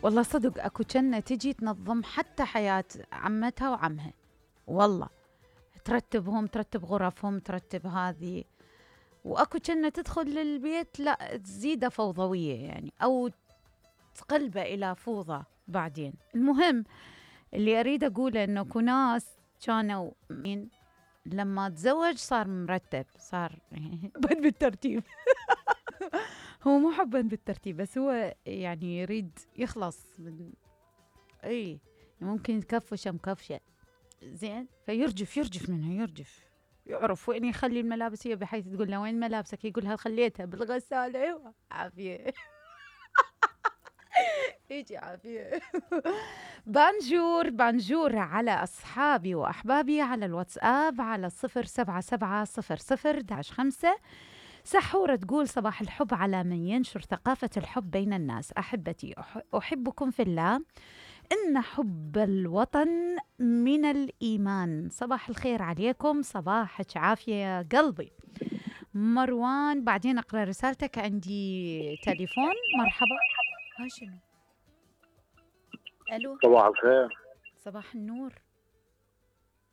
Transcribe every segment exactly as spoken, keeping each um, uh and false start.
والله صدق اكو جنة تجي تنظم حتى حياة عمتها وعمها، والله ترتبهم، ترتب غرفهم، ترتب هذه. واكو جنة تدخل للبيت لا تزيده فوضوية يعني، او تقلبه الى فوضى بعدين. المهم اللي اريد اقوله انه اكو ناس كانوا من لما تزوج صار مرتب، صار حبا بالترتيب هو مو حبا بالترتيب، بس هو يعني يريد يخلص من اي ممكن كفشه مكفشه زين، فيرجف يرجف منها، يرجف يعرف وين يخلي الملابس، هي بحيث تقول له وين ملابسك، يقولها خليتها بالغسالة. ايوه عافية يجي عافية بانجور بانجور على أصحابي وأحبابي على الواتساب على صفر سبعة سبعة صفر صفر داش خمسة. سحورة تقول صباح الحب على من ينشر ثقافة الحب بين الناس. أحبتي أحبكم في الله، إن حب الوطن من الإيمان. صباح الخير عليكم، صباحك عافية يا قلبي. مروان بعدين أقرأ رسالتك، عندي تليفون. مرحبا. ها شنو؟ ألو. صباح الخير. صباح النور.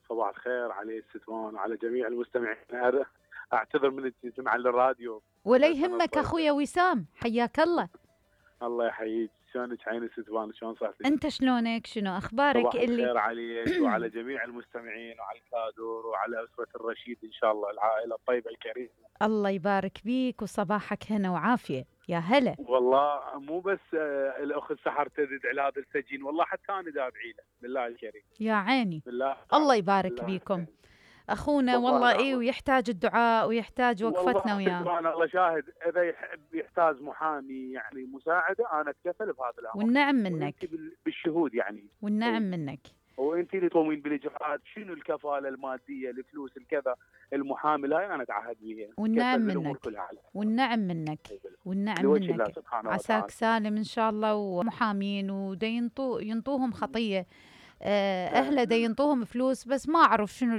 صباح الخير علي ستوان وعلى جميع المستمعين. أعتذر من الاستماع للراديو. ولا يهمك أخويا وسام، حياك الله. الله يحييك، شلونك عيني ستوان، شلون صحتك؟ أنت شلونك؟ شنو أخبارك؟ صباح اللي الخير عليك وعلى جميع المستمعين وعلى الكادور وعلى أسرة الرشيد إن شاء الله، العائلة الطيبة الكريمة. الله يبارك بيك وصباحك هنا وعافية. يا هلا. والله مو بس آه الأخت سحر تدعي لهذا السجين، والله حتى أنا دا أدعي له بالله الكريم. يا عيني. بالله الله يبارك بيكم أخونا، والله إيه، ويحتاج الدعاء ويحتاج وقفتنا وياه. والله الله شاهد، إذا يحب يحتاج محامي يعني مساعدة أنا أتكفل بهذا الأمر. والنعم منك. بالشهود يعني. والنعم منك. وانت اللي تقومين بالاجراءات، شنو الكفاله الماديه، الفلوس، الكذا، المحامل هاي انا اتعهد بيها. والنعم منك. والنعم منك. والنعم منك. عساك سالم ان شاء الله. ومحامين ودا ينطو ينطوهم خطيه، اهله دا ينطوهم فلوس، بس ما اعرف شنو